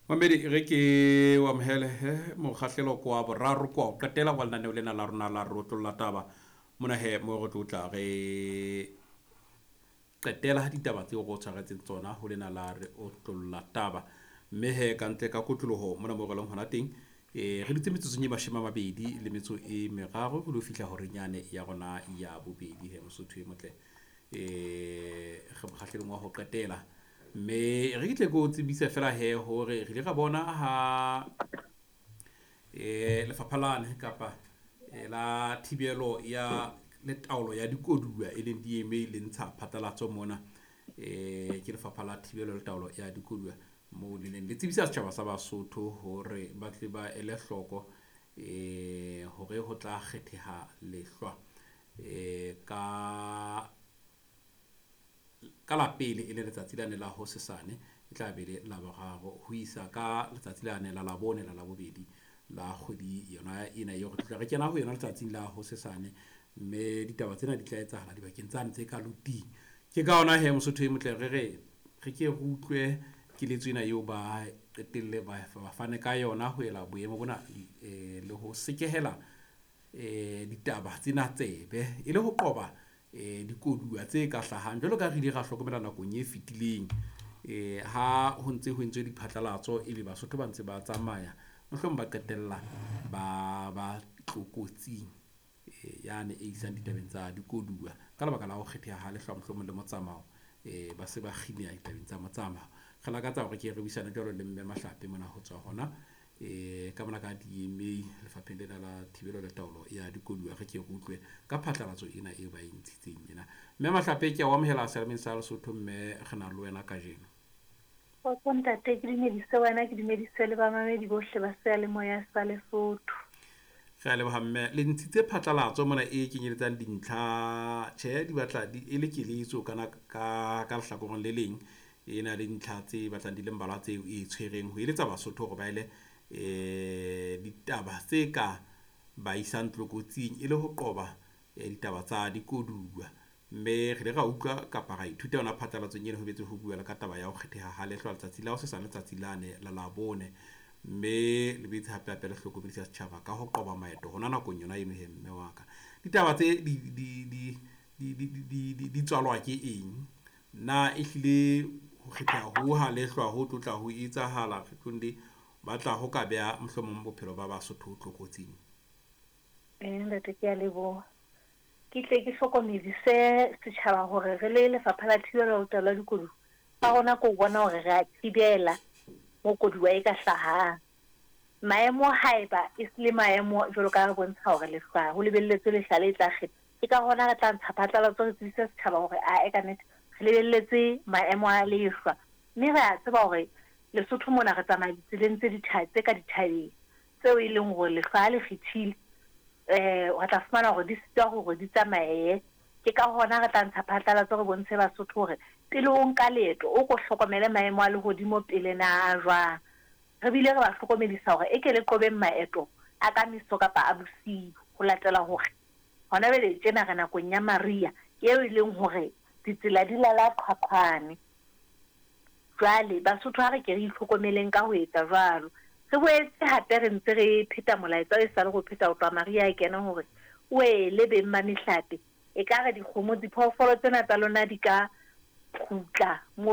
Mamedi re ke o amohele he mokgahlelo ko wa boraro ko wa ho qetela wa lenaneo lena la rona la re otlolla taba. Mona he mo re tlo tla re qetela ditaba tseo re o tshwaretseng tsona ho lena la re otlolla taba. Mme he ka ntle ka kotloloho mona mo re leng hona teng, re dutse metsotsong e 23 ho lo fihla horeng yane ya rona ya bobedi he Mosotho e motle. Re mokgahlelong wa ho qetela. Mme re ke tle ke o tsebise fela he hore re ile ra bona ha lefapha lane kapa la thibelo ya le taolo ya dikoduwa e leng DMA le ntsha phatlalatso mona. Ke lefapha la thibelo le taolo ya dikoduwa moo le neng le tsebisa setjhaba sa Basotho hore ba tle ba ele hloko hore ho tla kgetheha lehlwa ka la pele e le letsatsi lane la hosesane, e tla be le Laboraro ho isa ka letsatsi lane la Labone la Labobedi la kgwedi yona ena eo re tla re kena ho yona letsatsing la hosesane. Mme ditaba tsena di tla etsahala dibakeng tsane tse ka loting. Ke ka hona he Mosotho e motle re re re ke re utlwe keletso ena eo ba qetelle ba fane ka yona ho ela boemo bona le ho sekehela ditaba tsena tsebe e le ho qoba dikoduwa tse ka hlahang jwalo ka re ile ra hlokomela nakong e fetileng. Ha ho ntse ho entswe diphatlalatso ebe Basotho ba ntse ba tsamaya, mohlomong ba qetella ba ba tlokotsing yane e isang ditabeng tsa dikoduwa ka lebaka la ho kgetheha ha lehlwa mohlomong le motsamao. Ba se ba kgineha ditabeng tsa motsamao. Re lakatsa hore ke re buisane jwalo le Mme Mahlape mona ho tswa hona ka mona ka DMA lefapheng lena la thibelo le taolo ya dikoduwa. Re ke re utlwe ka phatlalatso ena eo ba e ntshitseng ena. Mme Mahlape ke a o amohela selemeng sa Lesotho mme re na le wena kajeno. Kgotso ntate, ke dumedise wena, ke dumedise le bamamedi bohle ba seyalemoya sa Lesotho. Re a leboha mme. Le ntshitse phatlalatso mona e kenyeletsang dintlha, tjhe di batla di e le keletso kana ka lehlakoreng le leng. E na le dintlha tse batlang di le mmalwa tseo e tshwereng ho eletsa Basotho hore ba ele ditaba tse ka ba isang tlokotsing e le ho qoba ditaba tsa dikoduwa. Mme re ile ra utlwa kapa ra ithuta yona phatlalatsong ena ho betse ho bua le ka taba ya ho kgetheha ha lehlwa letsatsi la hosesane letsatsi lane la Labone. Mme le boetse hape hape le hlokomedisa setjhaba ka ho qoba maeto hona nakong yona eno he mme wa ka. Ditaba tse di tswalwa ke eng? Na ehlile ho kgetheha ho ha lehlwa ho tlotla ho etsahala kgetlong le batla ho ka beha mohlomong bophelo ba Basotho tlokotsing? Ntate ke a leboha. Ke tle ke hlokomedise setjhaba hore re le lefapha la thibelo le taolo ya dikoduwa, sa rona ke ho bona hore re a thibela mo koduwa e ka hlahang. Maemo haeba e se le maemo jwalo ka re bontsha hore lehlwa ho lebelletswe lehla le tla kgetha. Ke ka hona re tla ntsha phatlalatso re tsebise setjhaba hore ae ka nnete re lebelletse maemo a lehlwa. Mme re a tseba hore Lesotho mona re tsamaya ditseleng tse tse ka dithabeng tseo e leng hore lehlwa ha le kgethile re tla fumana hore di sitwa hore di tsamaye. Ke ka hona re tla ntsha phatlalatso re bontshe Basotho hore pele o nka leeto o ko hlokomele maemo a lehodimo pele na a jwang. Re bile re ba hlokomedisa hore eke le qobeng maeto a ka meso kapa a bosiu ho latela hore hona jwale tjena re nakong ya mariha eo e leng hore ditsela di lala qhwaqhwane. Jwale Basotho ha re ke re itlhokomeleng ka ho etsa jwalo. Re boetse hape re ntse re pheta molaetsa o esale re o pheta ho tloha mariha a kena hore wele beng ba mehlape, ekare dikgomo, diphoofolo tsena tsa lona di ka kgutla moo.